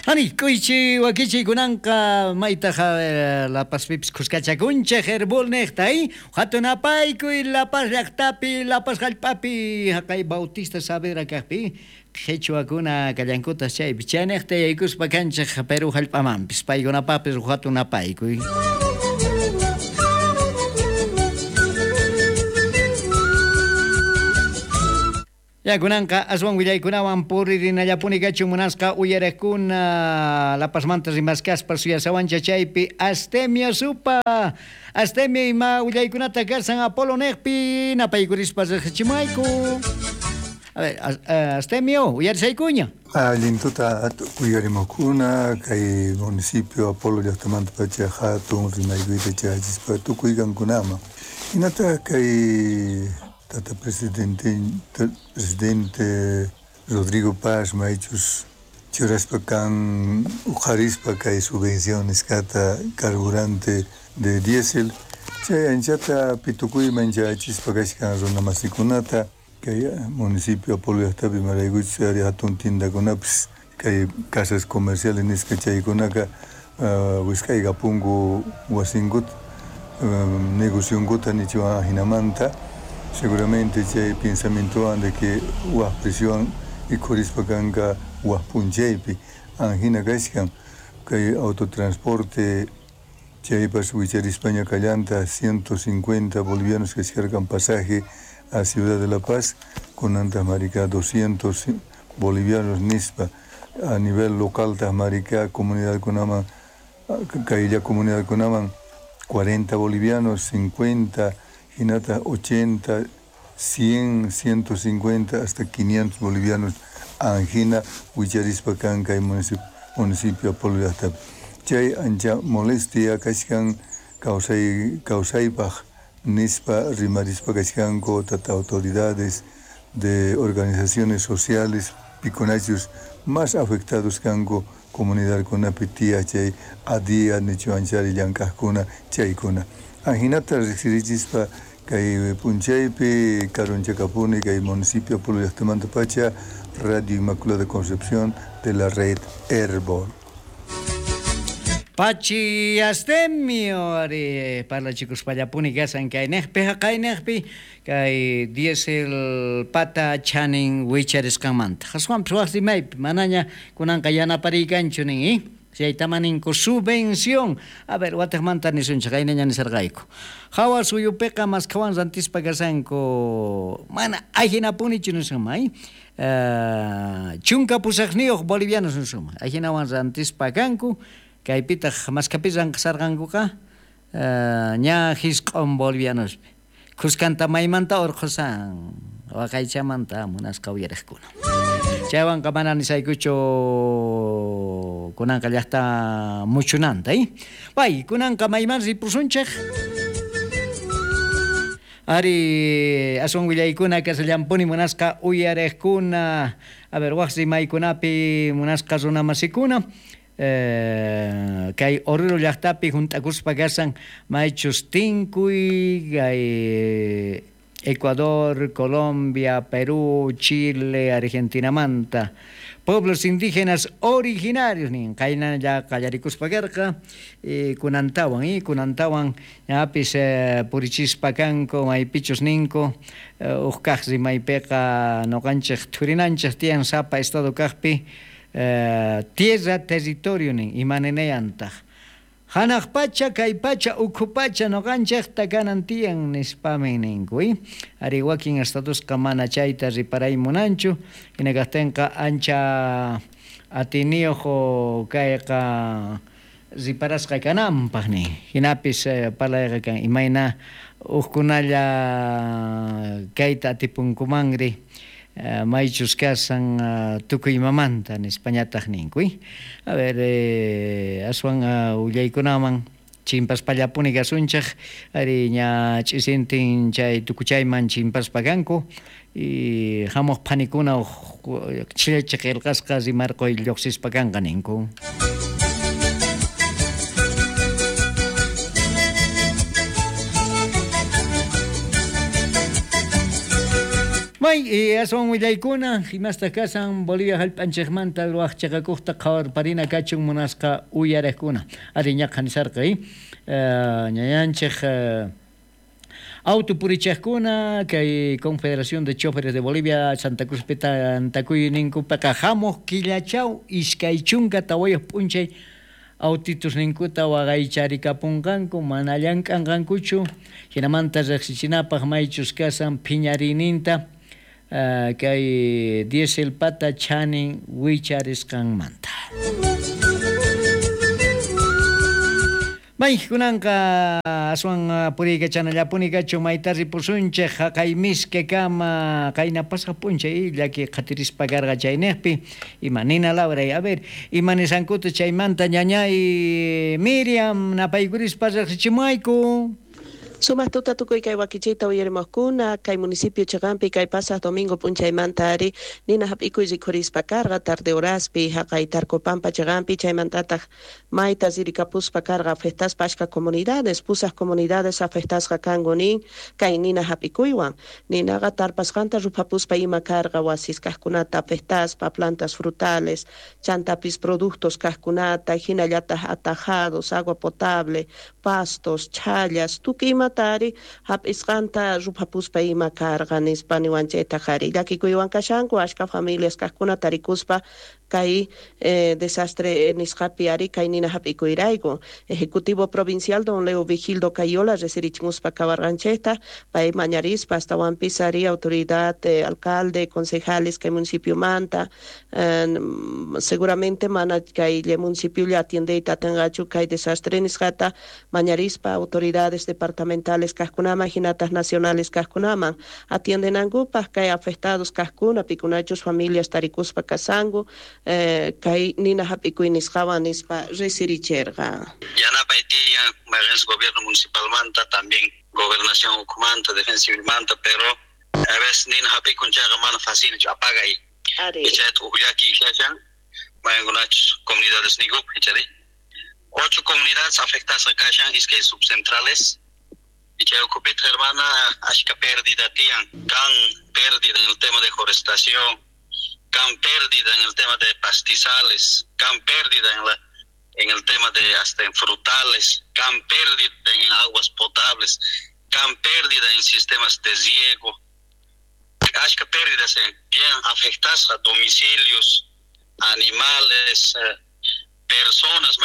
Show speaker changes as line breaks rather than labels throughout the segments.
Ani, k'uychi wakichiy kunanqa maytaj La Pazpipis khuskachakunchej Herbol nejta, hatun apaykuy La Paz llajtapi, La Paz jallp'api, jaqay Bautista Saavedra kajpi, qhichwakuna kallankutaj chaypi, chaynejta yaykuspa kanchej Perú jallp'amanpis, paykunapajpis uj hatun apaykuy. Ya kunanqa aswan willaykunawan puririnallapuni kachun munasqa uyarejkuna La Pazmanta rimaskaspa suyasawancha chaypi Astemio Supa. Astemio ima willaykunata kasan Apolo nejpi napaykurispa riqsichimayku. A ver, Astemio, uyarisaykuña.
Allin tuta uyarimukuna kay municipio Apolo llaqtamanta pacha hatun rimaykuyta chayachispa tukuy kankunaman. Hinataq kay tata presidente Rodrigo Paz maychus churaspa kan uqharispa kay subvención nisqata carburante de diésel chay anchata pitukuyman chayachispa kashkan runa masikunata kay municipio Apolo llaqtapi maraykuchus ari hatun tiendakunapis kay casas comerciales nisqa chaykunaka wisq'aykapunku wasinkuta negocionkuta nichuwan jinamanta seguramente chay pensamientowan de que waj presiowan ikhurispa kanka waj p'unchaypi anjina kashkan kay autotransporte chaypas wicharispaña kallanta 150 bolivianos kashkarkan pasaje a Ciudad de La Paz kunantaq marika 200 bolivianos nispa a nivel local taq marika comunidadkunaman kaylla comunidadkunaman 40 bolivianos 50 hinata 80, 100, 150 hasta 500 bolivianos anjina wicharispa kan kay municipio Apolo llaqtapi. Chay ancha molestia kashkan kawsaypaj nispa rimarispa kashkanku tata autoridades de organizaciones sociales pikunachus más afectados kanku comunidadkunapi tiyaj chay adia nichuanchari llank'ajkuna chaykuna. Anjinata riqsirichispa kay p'unchaypi karunchakapuni kay municipio Apolo llaqtamanta pacha Radio Inmaculada Concepción de la red Herbol.
Pachi Astemio ari parlachikuspallapuni kasan kaynejpi jaqaynejpi kay diésel pata chanin wicharisqanmanta. Aswanpis waj rimaypi manaña kunanqa yanapariykanchu nin, chaytamaninku subvención. A ver, watejmanta nisunchej, qaynaña nisarqayku. Hawa suyupiqa maskhawan rantispa kasanku mana ajinapunichu nisunman, 18 bolivianos nisunman. Ajinawan rantispa kanku, kaypitaq maskhapi ranqasarqankuqa ña 9 bolivianospi. Khuskanta maymanta urqhusan waqaychamanta munasqa uyariqkuna. Chaywanqa mana nisaykuchu kunanqa llaqta muchunanta, Pay, kunanqa mayman ripusunchej. Ari aswan willaykuna kasallampuni munasqa uyariqkuna. A ver, waj rimaykunapi munasqa runamasikuna. Kay Oruro llaqtapi junt'akuspa kasan maychus tinkuy kay Ecuador, Colombia, Perú, Chile, Argentinamanta. Pueblos indígenas originarios nin qaynalla qallarikuspa karqa kunantawan kunantawan ñapis purichispa kanku maypichus ninku uj kaq rimaypiqa noqanchej thurinanchej tiyan sapa estado kaqpi tierra territorio nin imaninayantaq hanaq pacha kay pacha ukhu pacha noqanchejta kanan tiyan nispamin ninku ari wakin estadosqa mana chayta riparay munanchu hina kaqtinqa ancha atiniyuq kayqa riparasqa kananpaq nin hinapis parlayqa kan imayna hukkunalla kayta atipunkumanri maychus kasan tukuy imamanta nispañataq ninku. A ver, aswan willaykunaman chimpaspallapuni kasunchej ari ña ch'isintin chay tukuchayman chimpaspa kanku y hamuq phanikuna chillachi qillqasqa rimarquy lluqsispa kanqa ninku. May aswan willaykuna imastaq kasan Bolivia hallp'anchikmanta ruwaq chiqakuqta qhawarparina kachun munasqa uyariqkuna. Ari ñaqa nisarqa ñañanchik autopurichaqkuna kay Confederación de Choferes de Bolivia Santa Cruz tantakuyninkupiqa hamuq killachaw 24 p'unchay autitusninkuta waqaycharikapunqanku mana llank'anqankuchu hinamanta riqsichinapaq maychus kasan phiñariyninta kay diesel pata chanin wicharisqanmanta. May kunanqa aswan puriykachanallapuni kachun mayta ripusunchik haqay miske kama qayna pasaq p'unchay llaki qhatirispa karqa chayniqpi ima nina lawray a ver ima nisankuta chaymanta ñañay Miriam napaykurispa riqsichimuayku.
Sumaq tuta tukuy kay wakichiyta uyarimuqkuna kay municipio chiqanpi kay pasaq domingo p'unchaymanta ari nina hap'ikuy rikhurispa karqa tarde horaspi haqay Tarcopampa chiqanpi chaymantataq mayta ririkapuspa karqa afectaspa achka comunidades pusaq comunidades afectasqa kanku nin kay nina hap'ikuywan ninaqa tarpasqanta ruphapuspa ima karqa wasis kaqkunata afectaspa plantas frutales chantapis productos kaqkunata hinallataq atajados agua potable pastos chhallas tukuy ima tari hap'isqanta ruphapuspa ima karqa nispa niwanchaytaq ari llakikuywan kashanku achka familias kaqkuna tarikuspa kay desastre nisqapi ari kay nina hap'ikuyrayku. Ejecutivo Provincial don Leo Vigildo Cayola resirichimuspa kawarqanchikta pay mañarispa astawanpis ari autoridad alcalde concejales kay municipiomanta seguramente mana kay municipio atiendeyta atinqachu kay desastre nisqata mañarispa autoridades departamentales kaqkunaman hinataq nacionales kaqkunaman atiendenankupaq kay afectados kaqkuna pikunachus familias tarikuspa kasanku kay nina hap'ikuy nisqawan nispa resiricherqa.
Yanapay tiyan mayqinchis gobierno municipalmanta también gobernación ukhumanta defensa civilmanta pero a veces nina hap'ikun chayqa mana facilchu apagay. Chayta uj llaki kashan mayqinkunachus comunidades niykupi ichari 8 comunidades afectadas kashan iskay subcentrales y chay ukhupitaq hermana achka pérdida tiyan kan pérdida en el tema de forestación, can pérdida en el tema de pastizales, can pérdida en el tema de hasta en frutales, can pérdida en aguas potables, can pérdida en sistemas de riego, achka pérdidas bien afectadas a domicilios, animales, personas,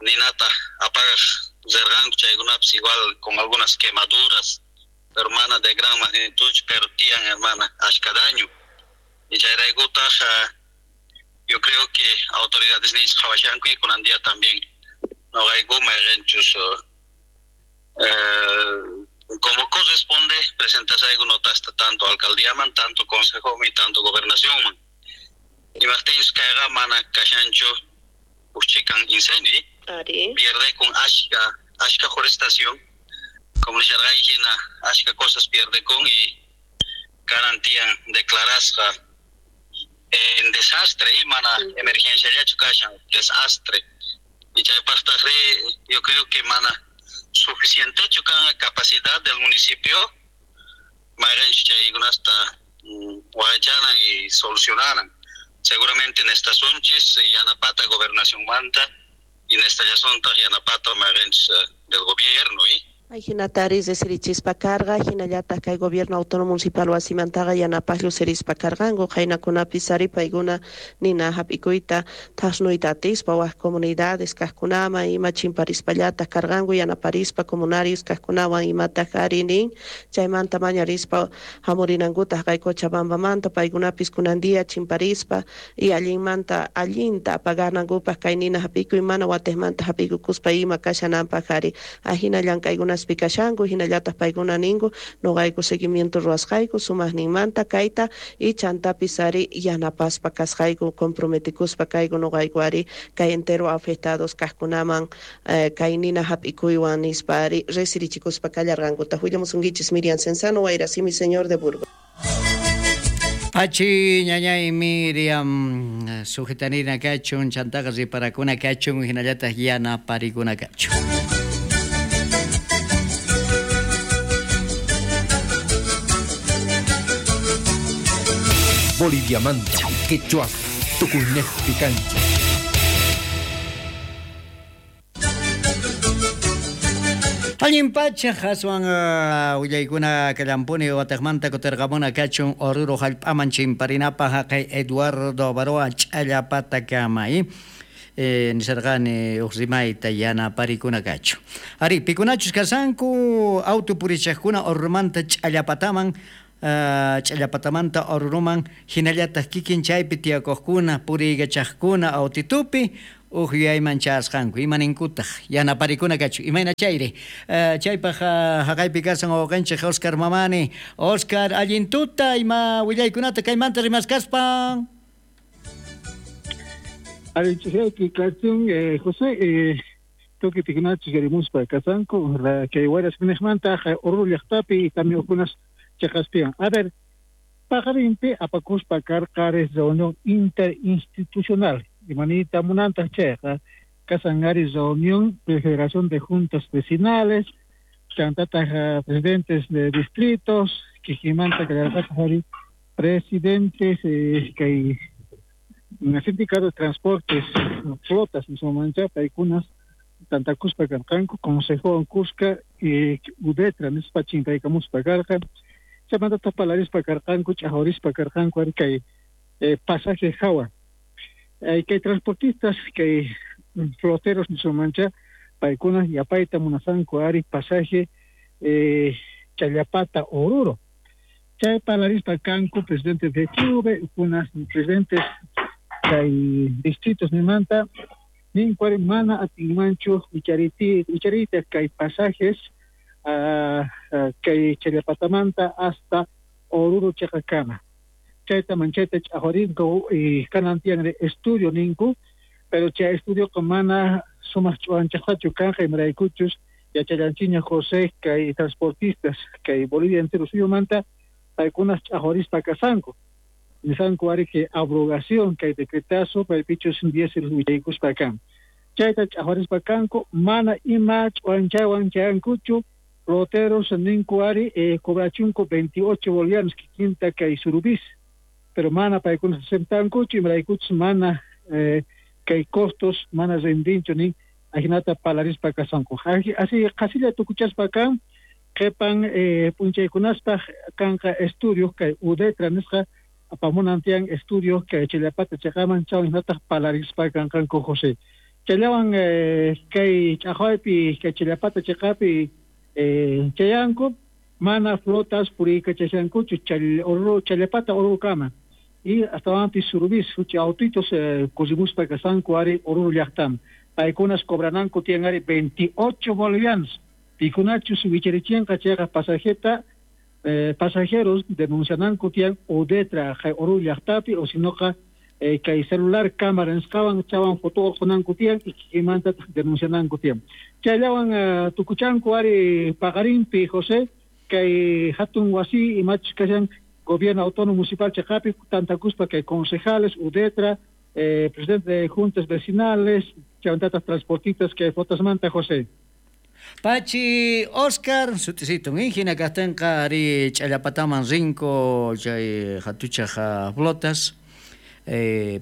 ninata apagaq rirqanku chaykunapis igual con algunas quemaduras, hermana de gran magnitud, pero tiyan hermana achka daño. Y chayraykutaq yo creo que autoridades nisqa qhawashanku y kunan día también noqayku mayqinchus como corresponde presentasayku notasta tanto alcaldíaman, tanto consejoman y tanto gobernacionman. Imaqtinchus kayqa mana kashanchu uj chikan incendio pierde con achka forestación, como nisharqayki hina achka cosas pierde con y garantían declarasqa en desastre y mana emergencia llachu kashan desastre y chaypaqtaqri yo creo que mana suficientechu kan capacidad del municipio mayqinchus chaykunasta waqaychanan y solucionaran seguramente en estas sunchis yanapata gobernación manta y en esta llasuntaq yanapata mayqinchus del gobierno y
Hinataris resirichispa karqa hinallataq kay gobierno autónomo municipal wasimantaqa yanapaq llusirispa karqanku qaynakunapis ari paykuna nina hap'ikuyta thasnuyta atispa wak comunidades kaqkunaman ima chimparispallataq karqanku yanaparispa comunarios kaqkunawan imataq ari nin chaymanta mañarispa hamurinankutaq kay Cochabambamanta paykunapis kunan día chimparispa y allinmanta allinta apaganankupaq kay nina hap'ikuy mana watiqmanta hap'ikukuspa ima kashananpaq ari ahina llank'aykunas pikashanku hinallataq paykuna ninku noqayku seguimiento ruwasqayku sumaqninmanta kayta y chantapis ari yanapaspa kasqayku comprometikuspa kayku noqayku ari kay entero afectados kaqkunaman kay nina hap'ikuywan nispa ari resirichikuspa kallarqankuta. Willamusunkichis Miriam Cenzano Wayrasimi señor de Burgos.
Pachi ñañay Miriam sujetanina kachun chantaqa riparakuna kachun hinallataq yanaparikuna kachun.
Boliviamanta, quechuas, tukuynejpi kanchej.
Allin pacha aswan willaykuna kallampuni wataqmanta kutirqamuna kachun Oruro hallp'aman chimparinapaq haqay Eduardo Abaroa ch'allapatakama nisarqani uq rimayta yanaparikuna kachun. Ari, pikunachus kasanku auto purichaqkuna Oruromanta ch'allapataman ch'allapatamanta Oruroman hinallataq kikin chaypi tiyakuqkuna puriykachaqkuna autitupi uq yuyayman chayasqanku imaninkutaq yanaparikuna kachun imayna chayri chaypaq haqaypi kasan wawqinchik Oscar Mamani. Oscar, allin tuta ima willaykunata kaymanta rimaskaspa.
Allin ch'isiyayki kachun José, tukuy pikunachus yarimuspa kasanku kay wayras niqmanta Oruro llaqtapi camiukunas cheqaspiwan. A ver, paqarinpi apakuspa karqa reunión interinstitucional. Imanita munantaq chayqa kasan ari reunión de Federación de Juntas Vecinales, chantataq presidentes de distritos, kijimanta kallarqataq ari presidentes kay sindicato de transportes, flotas nisqamancha paykunas tantakuspa karqanku consejowan kuska udetra nispa chinkaykamuspa karqa chaymantataq parlarispa karqanku ch'ajurispa karqanku ari kay pasaje hawa. Kay transportistas, kay floteros nisqamancha paykuna yapayta munasanku ari pasaje Challapata Oruro. Chay parlarispa kanku presidentes de clube, unas presidentes kay distritos nimanta ninku ari mana atinmanchu wicharita kay pasajes kay Challapatamanta hasta Oruro chaqakama. Chayta manchayta ch'ajurinko kanan tiyan estudio ninku, pero chay estudio mana sumaq ch'uwanchaqtachu kanqa imaraykuchus yachallanchiña José kay transportistas kay Bolivia entero suyumanta paykunas ch'ajurispa kasanku. Nisanku ari que abrogación kay decretazo paypichus diésel wichaykuspa kan. Chayta ch'ajurispa kanku mana ima ch'uwanchaywan chayankuchu floteros ninku ari cobrachunku 28 bolivianos kikinta kay surubis. Pero mana paykunas aceptankuchu imaraykuchus mana kay costos mana rendinchu nin ajinata parlarispa kasanku. Así qasilla tukuchaspa kan qhipan p'unchaykunaspaq kanqa estudio kay udetra nisqa apamunan tiyan estudio kay Challapata chaqaman chawan hinataq parlarispa kanqanku José. Chayllawan kay ch'aqwaypi kay Challapata chaqapi chayanku mana flotas puriykachashankuchu Challapata Orurokama. Y astawanpis surubis huchi autitos kusimuspa kasanku ari Oruro llaqtaman. Paykunas cobrananku tiyan ari 28 bolivianos. Pikunachus wicharichinqa chayqa pasajeta pasajeros denunciananku tiyan udetra Oruro llaqtapi o sinoqa kay celular cámara nisqawan chawan foto urqunanku tiyan y kikinmantataq denunciananku tiyan. Chayllawan tukuchanku ari paqarinpi José kay hatun wasi imachus kashan gobierno autónomo municipal chaqapi tantakuspa kay concejales, udetra, presidente de juntas vecinales, chaymantataq transportistas kay flotasmanta José.
Pachi Oscar, sutisitun hina kaqtinqa ari ch'allapataman rinku chay hatuchaq flotas.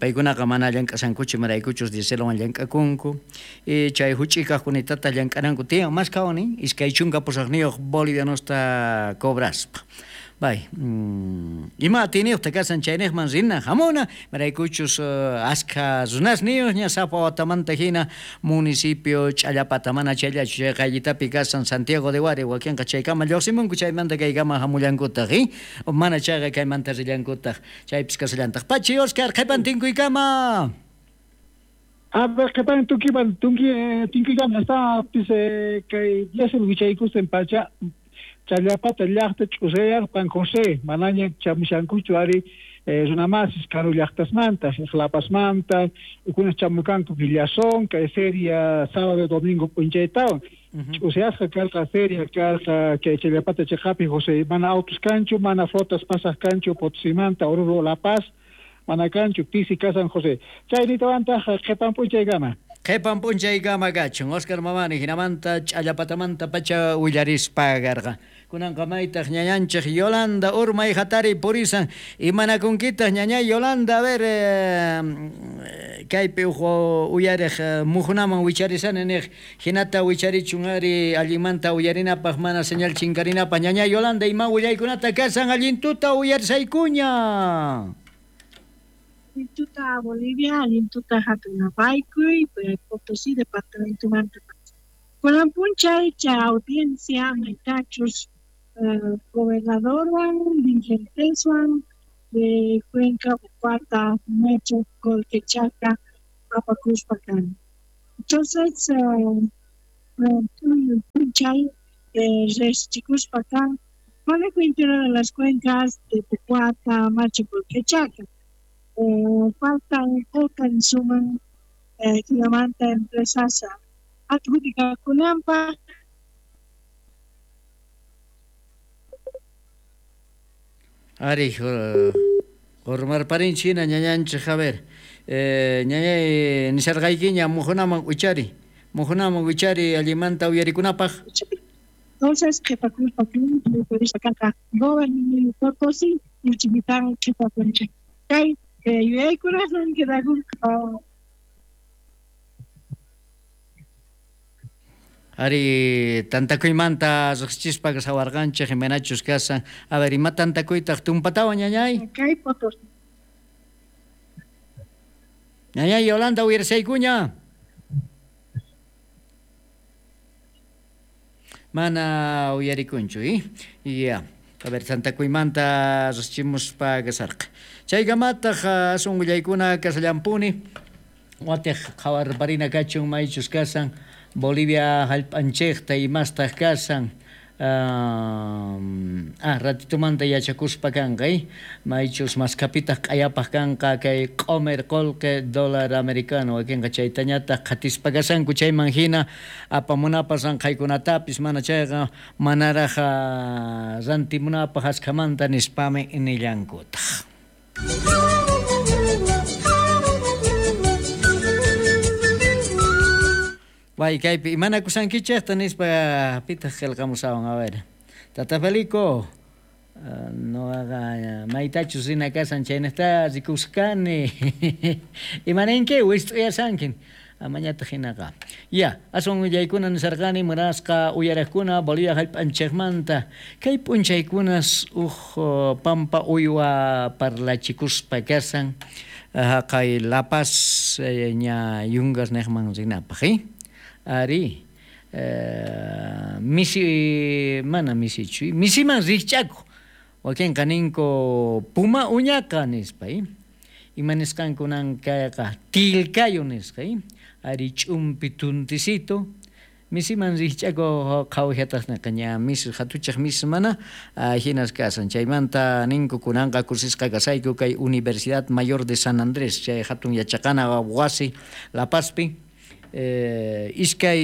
Paykunaqa mana llank'asankuchu imaraykuchus dieselwan llank'akunku chay huch'ikaqkunitata llank'ananku tiyan mas kawani 28 bolivianosta cobraspa. Bay, ima atiyniyuqta kasan chayniqman rina hamuna imaraykuchus askha runasniyuqña sapa watamanta hina municipio Ch'allapata mana chayllachu chay qayllitapi kasan Santiago de Huari wakinqa chaykama lluqsimunku chaymanta kaykama hamullankutaq mana chayqa kaymanta rillankutaq chaypis kasallantaq. Pachi Oscar, qhipan tinkuykama.
A ver, qhipan tinkuykama hasta pis kay diésel wichaykusten pacha Challapata llaqta ch'usayarpan José manaña chamushankuchu ari runamasis karu llaqtasmanta Lapasmanta ukunas chamukanku Villazón kay feria sábado domingo p'unchaytawan ch'usayasqa karqa feria karqa kay Challapata chaqapi José mana autos kanchu mana flotas pasaq kanchu Potosimanta Oruro La Paz mana kanchu pisi kasan José. Chaynitawantaq qhipan p'unchaykama.
Qhipan p'unchaykama kachun. Oscar Mamani hinamanta ch'allapatamanta pacha willarispa karqa. Kunanqa maytaq ñañanchik Yolanda urmay hatari purisan. Imanakunkitaq ñañay Yolanda, a ver, kaypi uj uyariq mujunaman wicharisani niq hinata wicharichun ari allinmanta uyarinapaq mana señal chinkarinapaq. Ñañay Yolanda, ima willaykunata kasan allintuta uyarisaykuña.
Allintuta Bolivia, allintuta hatunapaykuy, Potosí departamento manta. Kunan p'unchay chay audiencia maytachus gobernadorwan, dirigenteswan de Cuenca, Cuarta, Mecho, Colquechaca, apakuspa kan. Entonces, p'unchay riqsichikuspa kan manejo integral de las cuencas de Pocuata, Macho, Colquechaca. Faltan okan suman jinamanta empresas adjudicakunanpaq.
Ari, urmarparinchik hina ñañanchik, a ver, ñañay nisharqaykiña mujunaman wichari, mujunaman wichari allimanta uyarikunapaq.
Entonces, qhipakuspa kanqa gobernador Potosí uchimitan qhipakunchik. Kay yuyaykunaswan quedakun.
Ari, tantakuymanta riqsichispa sawarqanchik imaynachus kasan. A ver, ima tantakuytaq tumpatawan ñañay?
Kay Potosí.
Ñañay Yolanda uyarisaykuña. Mana uyarikunchu, Ya. A ver, tantakuymanta riqsichimuspa kasarqa. Chaykamataq asun willaykuna kasallampuni. Watiq qhawarparina kachun maychus kasan Bolivia hallp'anchikta imastaq kasan. Ratitumanta yachakuspa kanqa, maychus maskapitaq q'ayapaq kanqa kay q'umir qullqi dólar americano wakinqa chaytañataq qhatispa kasanku chayman hina apamunapas ranqhaykunatapis mana chayqa manaraq rantimunapaq askhamanta nispami nillankutaq. Bay, kaypi imanakusankichikta nispa pitaq qillqamusawan, a ver. Tata Felico, noqaqa maytachus rina kasan chaynaqta rikusqani. Imaninki wist'uyasankin. Amañataq hinaqa. Ya, aswan willaykuna nisarqani munasqa uyaraqkuna Bolivia hallp'anchikmanta. Kay p'unchaykunas uj pampa uywa parlachikuspa kasan haqay La Paz ña Yungas niqman rinapaq, Ari, misi, mana misichu, misiman rikch'akuq wakinqa ninku puma uñaqa nispa, ima nisqankunan kayqa tilkayo nisqa, ari ch'umpi tuntisito misiman rikch'akuq qhawajataq niqa ña misi hatuchaq misi mana hinas kasan. Chaymanta ninku kunanqa kusisqa kasayku kay Universidad Mayor de San Andrés chay hatun yachaqana wasi La Pazpi. Iskay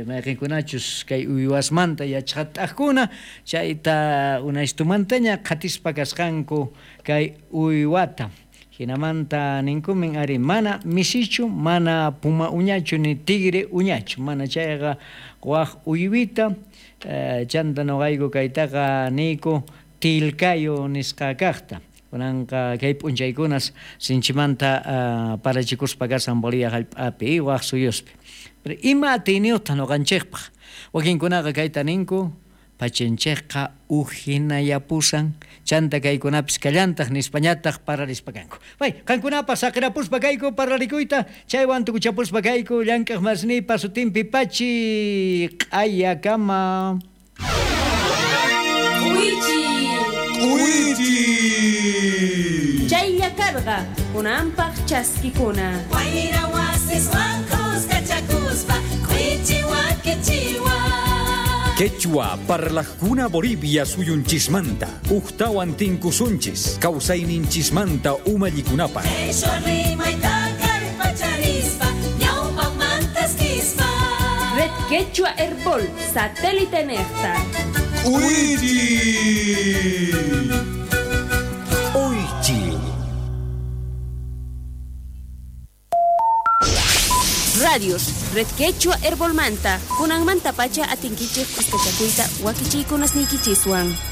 mayqinkunachus kay uywasmanta yachaqat'aqkuna chayta unaystumantaña qhatispa kasqanku kay uywata. Hinamanta ninkumin ari mana misichu, mana puma uñachu ni tigre uñachu, mana chayqa waq uywita chanta nuqayku kaytaqa niyku tilkayo nisqa kaqta. Kunanqa kay p'unchaykunas sinchimanta parachikuspa kasan Bolivia hallp'api waq suyuspi. Pero ima atiyniyuqtaq nuqanchikpaq? Wakinkunaqa kayta ninku pachanchikqa ujinayapusan chanta kaykunapis kallantaq nispañataq pararispa kanku. Bay, qankunapas saqirapuspa kayku parlarikuyta chaywan tukuchapuspa kayku llank'aq masnipa sutinpi pachi q'ayakama.
Uichi.
Chaylla karqa kunanpaq chaskikuna.
Wayra wasiswan kuskachakuspa k'uichi wakichiwa.
Quechua parlajkuna Bolivia suyunchismanta uqtawan tinkusunchis kawsayninchismanta umallikunapaq.
Qhishwa rimayta kallpacharispa ñawpaqmantas kispa.
Red Quechua Herbol satélite nejta.
Uichi. Uichi.
Radios, Red Quechua Herbolmanta, kunanmanta pacha atinkichej kuskachakuyta wakichiykunasniykichiswan.